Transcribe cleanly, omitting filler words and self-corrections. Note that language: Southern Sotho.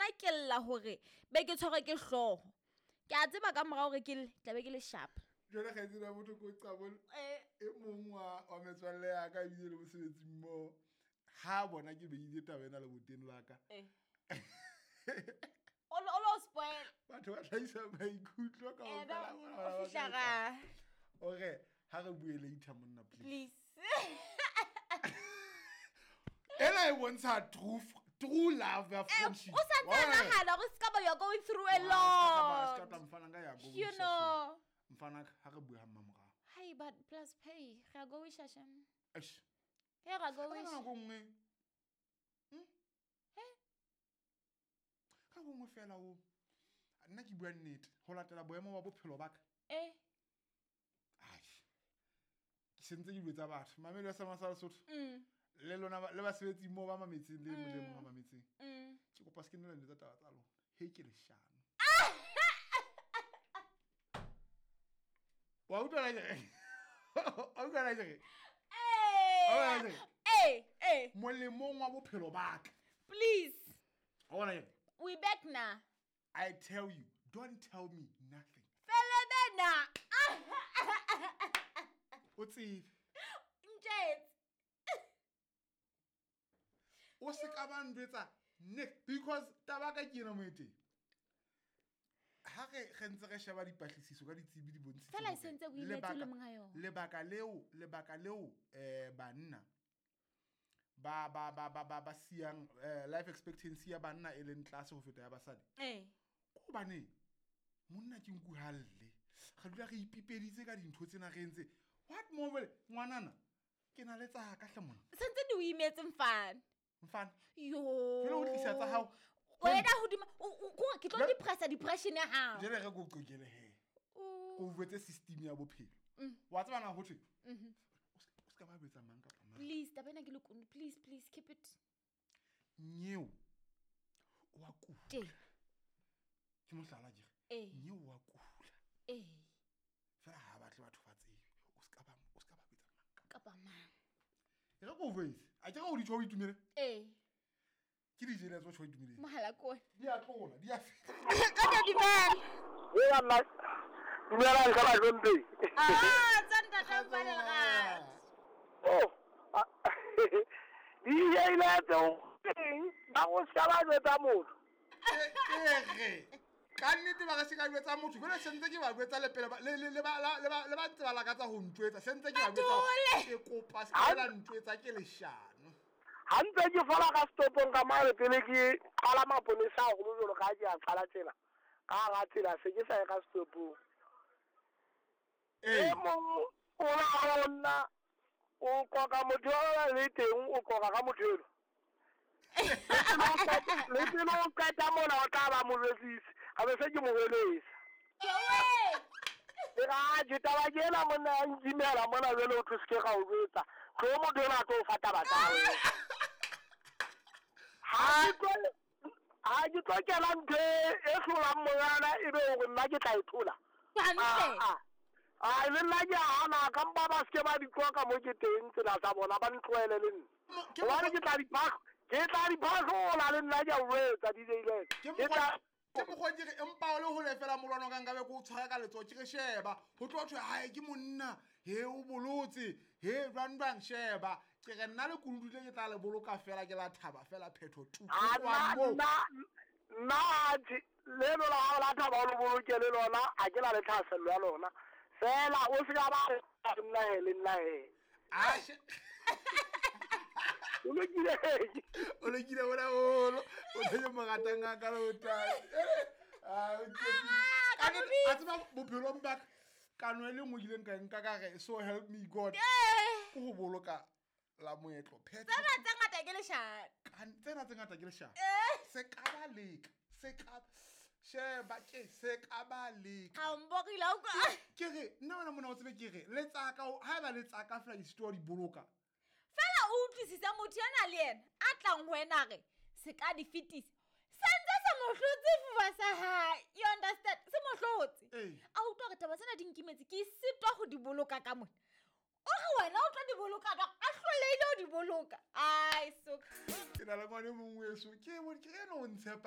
nna ke lla hore be ke tshwarwe ke hlooho. Ke a tseba ka mora hore ke lle, tla be ke le sharp. Jwale kgaitsedi ya motho ko qabole e mong wa metswalle ya ka ebile le mosebetsing mmoho, ha bona ke beile taba ena leboteng la ka. O lo spoil. Batho ba tlhaisa maikutlo ka Eh, ofela ba- bona o ba fihla tla ra. ore ha re bue later monna, please. Please. Ena e bontsha true love ya friendship. O sa ntse Wa bona? nahana hore se ka ba you are going through a Ah, se ka lot. tla mfana ka ya go You wisha know. so. Mfana ka, ha re bue ha mmamorao. Hi, but plus pay. Re a go wisha shem. Eish. He ra go Ka wisha. nako nngwe. Ka nako nngwe fela o. Nna ke bua nnete, ho latela boemo ba bophelo ba ka. Eh. Ai. Ke sentse ke dilo tsa batho. Mamelo ya Sama sa Lesotho. Le lona le basebetsi moo ba mametseng le mong le mong a mametseng. Ke kopa se ke nne le tsa taba tsa lona. He ke leshano. Wa utlwa la ke re? Wa utlwa la ke re? Eh. Alright. Eh, eh. Molemong wa bophelo ba ka. Please. Wa bona ke re? We back now. I tell you, don't tell me nothing. Fele bena. O tsebe. Ntjetse. O se ka ba ndwetsa ne because taba ka ke ena mo e teng. Ha re ntse re sheba dipatlisiso ka ditsebi di bontshitse Fela e hore sentse o imetse le monga yona. lebaka leo banna ba ba ba ba ba ba siyang life expectancy ya banna e leng tlase ho feta ya basadi. Eh. Ke hobane monna ke nku ha lle. Re dula re ipipeditse ka dintho tsena re entse. What more jwale? Ngwanana, ke na le tsa ka hle mona. Sentse di o imetse mfana. Mfana. Yo. Jwale o tlisa tsa hao. Wena hodima o ke tlo Jwale- depressa depression ya hao. Jwale re ko qokele he. O- O jwetse system ya bophelo. Wa tseba na ho thwe? O se ka ba jwetsa mang kapa mang. Please, taba ena ke lekunu. Please, please keep it. Nyeo o a kula. Teng. Ke mohlala ke re. Eh. Nyeo o a kula. Eh. Fela ha batle batho ba tsebe. O se ka ba, o se ka ba jwetsa mang kapa. Kapa mang. E re ko jwetse. A ke re o di tjho o itumele? Eh. Ke di jele tse o tjho o itumeleng. Mohala ke ona. Di a tlola, di a feta. Ka tla dumela. Ea nna, dumelang ka bahlomphei. Ah, tsa ntate Mfana Lerato. Oh, di ile tse o teng, ba go se ka ba jwetsa motho. Ke re, ka nnete ba re se ka jwetsa motho, jwale sentse ke ba jwetsa le pele ba, le, le, le ba, la, le ba, le ba ntse ba lakatsa ho ntjwetsa, sentse ke ba jwetsa hore Batole! ke kopa se ka la ntjwetsa ke leshano. Ha ntse ke fola ka setopong ka mane pele ke qala maponesa haholo jwalo ka ha ke a qala tsela. Ka hara tsela se ke sa ye ka setopong. Ee. E mong o la ho nna, o qoqa motho eo le teng, o qoqa ka motho eno. Le pele o qeta mona o tla ba mo jwetsise, a be se ke mo hweletsa. Ke ra, atjhe, taba ke ena monna ya nkimela mona jwale o tlo se ke ra o jwetsa. Tlo motho enwa a tlo o fa taba tsa hao. Ha ke tlo kena ntho e hlolang mongana ebe hore nna ke tla e thola. Hantle. Ah, ah. Ah, le nna ke a hana, ka mpa ba se ke ba di qoqa mo ke teng tsela tsa bona, ba ntlohele le nna. Ke Hobane mokgwa- ke tla di phahlola le nna ke a o jwetsa, DJ Lex. Ke Ke mokgwa- tla- ke mokgwa ke re, empa o le hole fela molwana ka nkabe ke o tshwara ka letsoho, ke re sheba, ho tlo thwe, hae, ke monna, he, o bolotse, he, jwang, jwang, sheba. Ke re nna le kunutu le ke tla le boloka fela, ke la thaba fela phetho tu. Ah, Ho tloha nna, moo. nna, nna, atjhe, leno la hao la thaba o le boloke le lona, ha ke na le thahasello ya lona. Fela, o se ka ba re, nna he, le nna he. Atjhe. O lokile. O lokile bona haholo. O tshwenye mo ratang ha ka le o tate. Ah, o tshepile. Ah, Ka ka nnete, mobitsa. a tseba bophelong ba ka, kano e le nngwe ke ileng ka e nka ka re, so help me God. Eh. Ke ho boloka la moetlo. Phetho. Tsena tse ngata ke leshano. Tsena tse ngata ke leshano. Eh. Se ka ba leka. Se ka sheba ke se ka ba leka. Ha o mporile, ha o utlwa. Ke re, nna wena mona o tsebe ke re, le tsaka, haeba le tsaka fela ke sitwa ho di boloka. Fela o utlwisisa motho ena le yena a tlang ho wena a re se ka di fetisa. Sentse se mo hlotse fuba sa hae. You understand? Se mo hlotse. Ee. A utlwa hore taba tsena di nkimetse, ke sitwa ho di boloka ka mona. O re wena o tlo di boloka jwang? A hlolehile ho di boloka. Ai, so Ke na le ngwana e mong weso, ke bone, ke ena o ntshepa